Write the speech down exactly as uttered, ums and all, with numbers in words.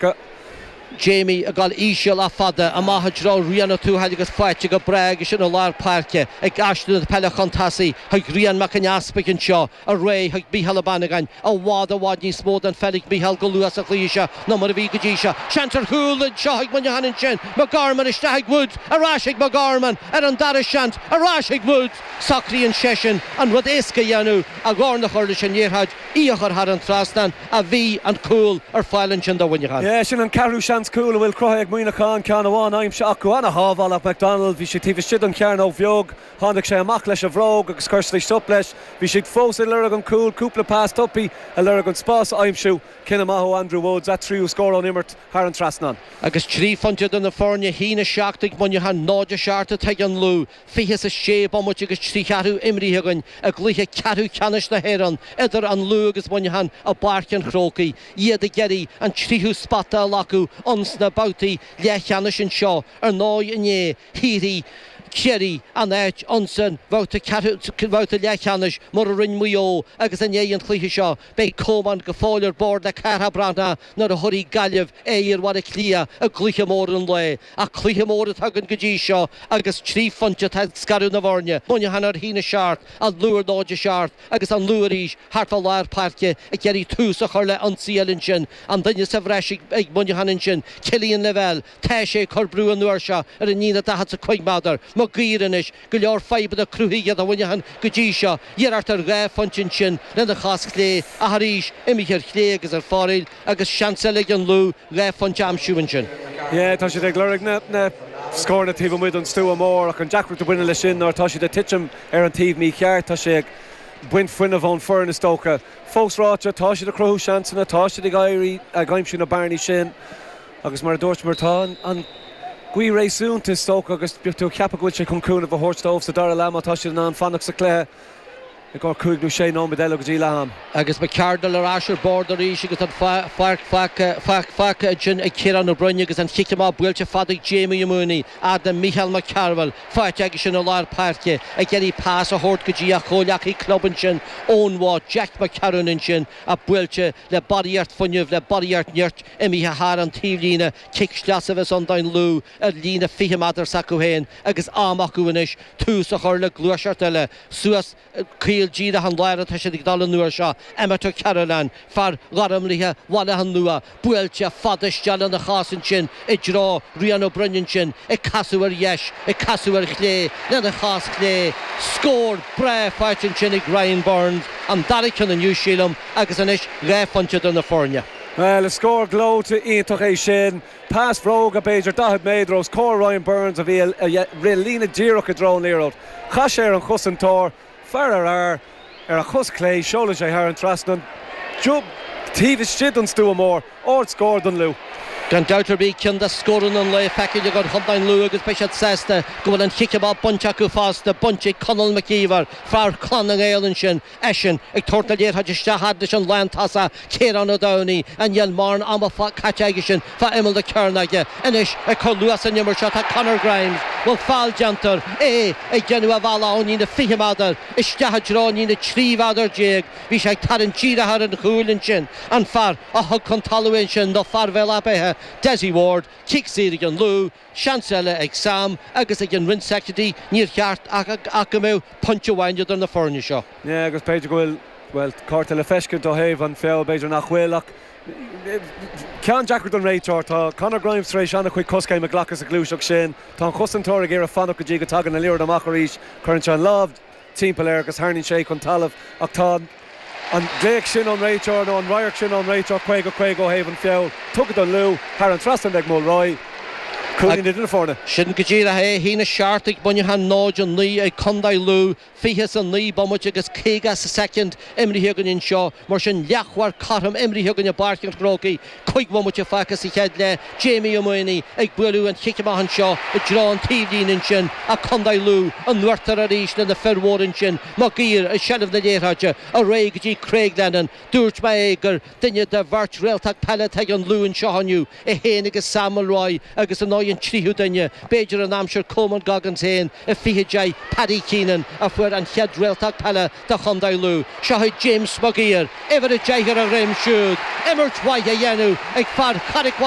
acu. Jamie ag dul íseal ach fada amach i dtreo Rian Ó Tuathail agus faighte go breá aige sin i lár páirce ag aistriú na peile chun tosaigh chuig Rian Mac an Easpaig anseo ar aghaidh chuig Mícheál Ó Bannagáin i bhfad i bhfad níos mó den pheil ag Mícheál go luath sa chluiche seo ná mar a bhí go dtí seo. Seans ar chúl anseo ag Muineachán ansin, McGorman isteach ag Woods, ar ais ag McGorman ar an dara seans, ar ais ag Woods! Socraíonn seisean an rud éasca a dhéanamh, a dhorn a chur leis an liathróid, í a chur thar an trasnán ach bhí an cúl ar fáil ansin do Mhuineachán. Yeah, sin an ceathrú seans cúl a bhfuil cruthaithe ag Muineachán, ceann amháin aimsithe acu. Ana-shábháil ag McDonald, bhí sé taobh istigh den chearnóg bheag, tháinig sé amach leis an bhróg agus chuir sé stop leis. Bhí siad fós ag lorg an cúl, cúpla pas tapaidh ag lorg an spás a aimsiú. Cinneadh maith ó Andrew Woods, a tríú scór ón imirt thar an trasnán. Agus trí phointe idir na foirne, a haon a seacht ag Muineachán, náid a seacht atá ag an Lú, fiche is a sé bomaite agus trí cheathrú imrithe againn i gcluiche ceathrú ceannais na hÉireann idir an Lú agus Muineachán i bPáirc an Chrócaigh. Iad ag iarraidh an tríú spota a ghlacadh ins na babhtaí leathcheannais anseo. Ar ndóigh inné, shaothraigh Ciarraí an áit ins an bhabhta ceathrú, bhabhta leathcheannais mar a rinne Maigh Eo agus i ndiaidh an chluiche seo beidh Coman go fóill ar bord le Cárthach Breathnach nuair a thabharfaidh Gaillimh aghaidh ar Bhaile Átha Cliath i gcluiche mór an lae. Ach cluiche mór atá againn go dtí seo agus trí phointe atá ag scaradh na bhfoirne, Muineachán ar a haon a seacht, an Lú ar náid a seacht agus an Lú arís thart fá lár páirce ag iarraidh tús a chur le ionsaí eile ansin. An duine sa bhreis ag Muineachán ansin, Cillian Lavelle, tá sé ag cur brú an uair seo ar an líne daichead is a cúig méadar. Maguire anois, go leor fadhbanna cruthaithe do Mhuineachán go dtí seo. Iarracht ar dhá phointe ansin lena chos chlé ach arís imithe ar chlé agus ar fóraoil agus seans eile ag an Lú dhá phointe a aimsiú ansin. Yeah, tá siad ag lorg na na scóranna taobh amuigh den stua mór ach an deacracht a bhaineann leis sin ná tá siad ag titim ar an taobh mícheart, tá sé ag baint fuinneamh ón foireann is dócha. Fós ráite, tá siad ag cruthú seansanna, tá siad ag éirí ag aimsiú na bearnaí sin agus mar a dúirt mar tá an gaoth réasúnta is dócha agus tú ceapadh go bhfuil sé chun cúnamh a thabhairt dóibh sa dara leath má tá siad in ann fanacht sa chluiche i gcomhair cúig nó sé nóiméad eile go dtí leath am. Agus McCardle ar ais ar bord arís agus an pháirc fágtha ansin ag Ciarán Ó Broin agus an chic amach buailte fada ag Jamie Mooney fhad le Micheál Mac Cearbhaill faighte aige sin i lár páirce ag iarraidh pas a thabhairt go dtí a chomhleacaí club ansin ón bhád Jack McCarron ansin a buailte le barraíocht fuinnimh le barraíocht nirt imithe thar an taobhlíne cic sleasa a bheas ann don Lú ar líne fiche méadar s'acu féin agus am acu anois tús a chur le gluaiseacht eile suas caol díreach an lár atá siad ag dul an uair seo Emmet O'Carolan fear Gharmlaithe Bhaile Átha Nua buailte fada isteach lena chos ansin i dtreo Rian Ó Broin ansin ag casadh ar dheis ag casadh ar chlé lena chos chlé scór breá faighte ansin ag Ryan Burns an dara ceann inniu sílim agus anois dhá phointe do na foirne. Well, is scór gleoite iontach é sin. Pas bhróga b'fhéidir daichead méadar os comhair Ryan Burns a bhí rith líne díreach i dtreo an liathróid. Chas sé ar an chosantóir, fear ar fhear ar a chos chlé seolann sé thar an trasnán. Jub taobh istigh den stua mór, ard scór don Lú. Gan dabht ar bith ceann de scóranna an lae feicthe ag chontae an Lú agus beidh siad sásta go bhfuil an chic amach bainte acu fosta bainte ag Conall McKeever fear Chlann na nGael ansin eisean ag tabhairt na liathróide isteach fhad leis an lántosach Ciarán Ó Domhnaigh an níl mórán ama caite aige sin fá imeall na cearnóige anois ag cur luas san imirt seo tá Conor Grimes bhfuil feall déanta é ag déanamh a bhealach ón líne fiche méadar isteach i dtreo an líne trí mhéadar déag bhí sé ag tarraingt díreach ar an chúl ansin an fear a thug chun talamh ansin nó fear Bhéal Átha Beithe Desi Ward cic saor ag an Lú seans eile ag Sam agus ag an Rince Secretary níor cheart ach go mbeadh pointe amháin idir na foirne seo. Yeah, agus b'fhéidir go bhfuil well cárta le feiscint ó thaobh an feall b'fhéidir nach bhfuil ach ceann deacair don réiteoir tá Conor Grimes tar éis an-chuid coiscéim a ghlacadh sa ghluaiseacht sin Tá an chosantóir ag iarraidh fanacht go dtí go dtagann an liathróid amach arís cuireann sé an lámh timpeall air agus tarraingíonn sé chun talamh ach tá an glaoch sin ón réiteoir nó an radharc sin ón réiteoir caoga caoga ó thaobh an feall tugtha don Lú thar an trasnán ag Mulroy. Cúilín idir na foirne. Sin go díreach é a haon a seacht ag Muineachán náid a naoi ag Contae Lú fiche is a naoi bomaite agus caoga soicind imrithe againn anseo mar sin leathuair cothrom imrithe againn i bPáirc an Chrócaigh cúig bhomaite fágtha sa chéad leath Jamie Mooney ag bualadh an chic amach anseo i dtreo an taobhlíne ansin a Contae Lú an uachtar arís lena fir mhór ansin Maguire i seilbh na liathróide ar aghaidh go dtí Craig Lennon dúirt mé é gur duine de bheirt réaltacht peile ag an Lú anseo inniu é féin agus Sam Mulroy agus an an tríú duine b'fhéidir an aimsir Coman Goggins féin i fiche deich Paddy Keenan a fuair an chéad réaltacht peile do Chontae Lú. Seo é James Maguire, uimhir a deich ar a dhroim siúd, imirt mhaith a dhéanamh ag fear Charraig